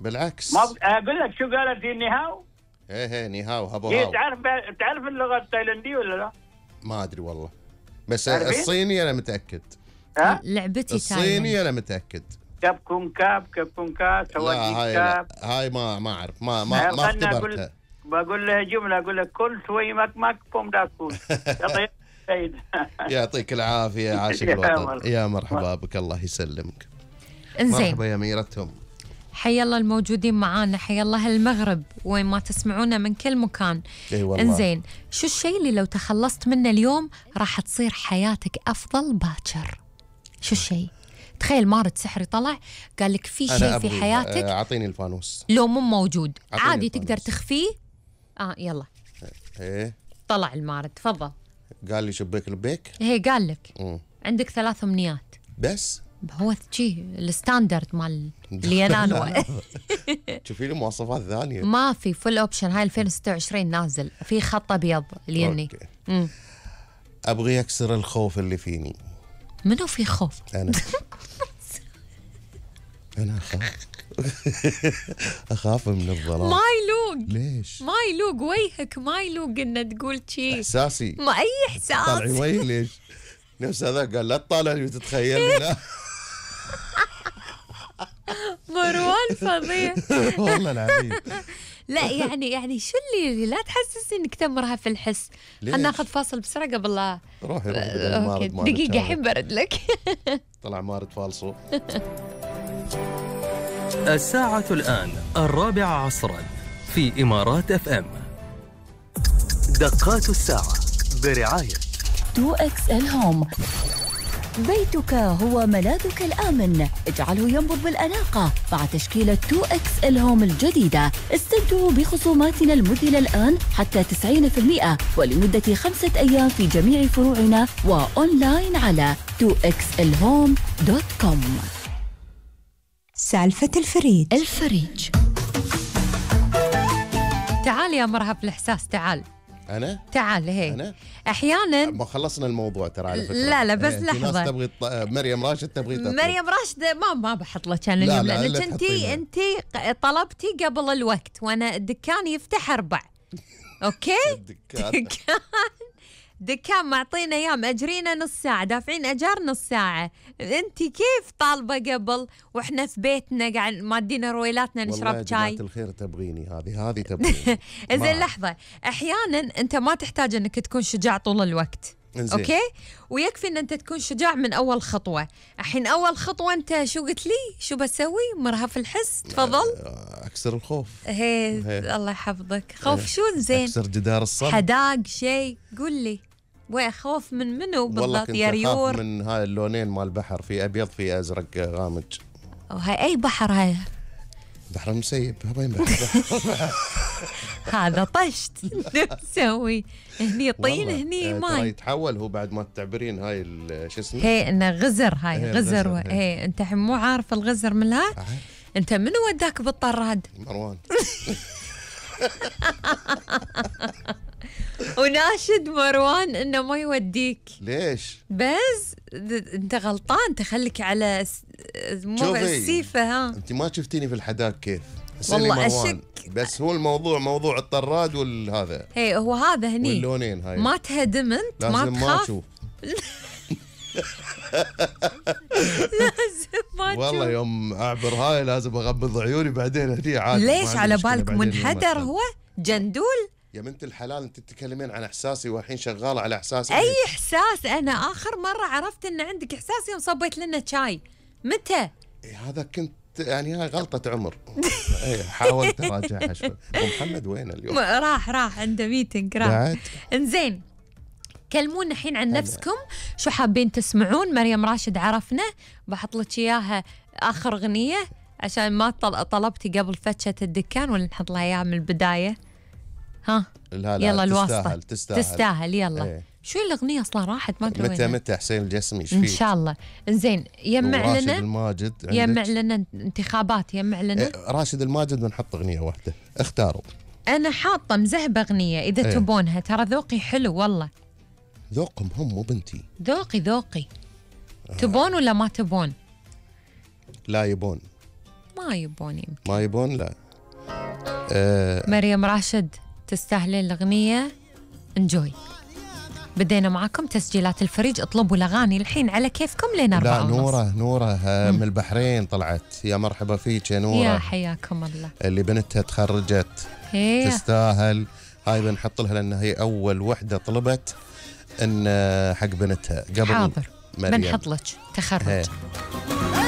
بالعكس. ما اقول لك شو قالت هي نيهاو. ايه نيهاو هابو هي هاو. تعرف اللغه التايلانديه ولا لا؟ ما ادري والله، بس تعرفين؟ الصيني انا متاكد. ها؟ لعبتي الصيني انا متاكد. كاب كون كاب لا سواجيك هاي كاب. هاي ما اعرف، ما اختبرتها. بقول لها جمله، اقول لك كل شوي مك بوم داكول. يعطيك العافيه، عاشق الوطن. يا مرحبا بك، الله يسلمك. انزين، مرحبا يا ميرتهم. حيا الله الموجودين معانا، حيا الله هالمغرب وين ما تسمعونا من كل مكان. اي والله. انزين، شو الشيء اللي لو تخلصت منه اليوم راح تصير حياتك افضل باكر؟ شو الشيء؟ تخيل مارد سحري طلع قال لك في شيء في حياتك اعطيني الفانوس لو مو موجود عادي الفانوس. تقدر تخفيه. يلا ايه طلع المارد، تفضل. قال لي شبيك لبيك. هي قال لك عندك 3 أمنيات بس هو شيء الستاندرد مال اللي ينانوا. شوفي لي مواصفات ثانيه. ما في فل اوبشن، هاي 2026 نازل في خط ابيض اليني. ابغي اكسر الخوف اللي فيني. منو في خوف؟ انا اخاف من الظلام. ما يلوق. ليش؟ ما يلوق وجهك، ما يلوق ان تقول شيء. احساسي. ما اي احساس. طالعين وجهي ليش؟ نفس هذا قال لا تطالعني وتتخيلني. لا مروان فظيع. والله العظيم. لا يعني شو اللي لا تحسسني انك تمرها في الحس. خلنا ناخذ فاصل بسرعه قبل لا روحي دقيقه الحين برد لك. طلع مارد فالصو. الساعة الآن 4 عصرا في إمارات FM. دقات الساعة برعاية 2XL هوم. بيتك هو ملاذك الآمن، اجعله ينبض بالأناقة مع تشكيلة 2XL هوم الجديدة. استمتعوا بخصوماتنا المذهلة الآن حتى 90% ولمدة 5 أيام في جميع فروعنا وأونلاين على 2xlhome.com. سالفة الفريج. تعال يا مرهف الإحساس، تعال. أنا؟ تعال. هي أنا؟ أحياناً ما خلصنا الموضوع ترى على فكرة. لا بس لحظة. ناس تبغي مريم راشد تبغي تطلب. مريم راشد ما بحط لك أنا اليوم، لأنك أنت طلبتي قبل الوقت وأنا الدكان يفتح 4. أوكي؟ دكان معطينا ايام مأجرينا نص ساعة، دافعين اجار نص ساعة، انت كيف طالبة قبل واحنا في بيتنا قاعد مادينا رويلاتنا نشرب شاي؟ والله يا جماعة الخير تبغيني هذه تبغيني. زين لحظة، احيانا انت ما تحتاج انك تكون شجاع طول الوقت. انزين. اوكي، ويكفي ان انت تكون شجاع من اول خطوة. الحين اول خطوة انت شو قلت لي؟ شو بسوي؟ مرهف الحس، تفضل. اكسر الخوف. هي الله يحفظك. خوف شو؟ زين اكسر جدار الصبر. حداق شيء، قول لي. وخوف من منو بالضبط يا ريور؟ والله كنت من هاي اللونين مال البحر، في ابيض في ازرق غامج. هاي اي بحر؟ هاي بحر المسيب. وين بحر؟ هذا طشت. نسوي هني طين هني ماي. يتحول هو بعد ما تعبرين هاي شو اسمه؟ هي انه غزر. هاي غزر. هي انت الحين مو عارف الغزر من لا؟ انت منو وداك بالطراد؟ مروان. وناشد مروان انه ما يوديك. ليش؟ بس انت غلطان، تخليك على السيفه. ها انت ما شفتيني في الحداق كيف؟ والله اشك. بس هو الموضوع موضوع الطراد والهذا. هي هو هذا هني واللونين هاي ما تهدم انت، ما تخاف. لازم ما تشوف. والله يوم اعبر هاي لازم اغمض عيوني بعدين هدي عادي. ليش على بالك منحدر هو جندول؟ يا بنت الحلال انت تتكلمين عن احساسي والحين شغاله على احساسي. اي احساس؟ انا اخر مره عرفت ان عندك احساس يوم صبيت لنا شاي. متى؟ هذا كنت يعني هاي غلطه عمر. حاولت اراجعها شوي. ومحمد وين اليوم؟ راح عنده ميتنج. راح. انزين، كلمونا الحين عن نفسكم، شو حابين تسمعون؟ مريم راشد عرفنا، بحط لك اياها اخر اغنيه عشان ما طلبتي قبل فتشه الدكان، ولا نحط لها اياها من البدايه؟ ها يلا الواسطه تستاهل. يلا شو الاغنيه اصلا راحت ما ادري متى حسين الجسمي ان شاء الله. انزين، يمع لنا راشد الماجد. يمع لنا انتخابات، يمع لنا راشد الماجد، بنحط اغنيه واحده اختاروا. انا حاطه مذهبه اغنيه اذا تبونها، ترى ذوقي حلو والله. ذوقهم هم مو بنتي. ذوقي. تبون ولا ما تبون؟ لا يبون. ما يبون يمكن. ما يبون لا. مريم راشد تستاهلين الأغنية. انجوي. بدينا معكم تسجيلات الفريج. اطلبوا الأغاني الحين على كيفكم لين 4:30. لا نورة من البحرين طلعت. يا مرحبا فيك يا نورة. يا حياكم الله. اللي بنتها تخرجت تستاهل. هاي بنحط لها لأن هي أول وحدة طلبت إن حق بنتها قبل حاضر مريم. بنحط لك تخرج.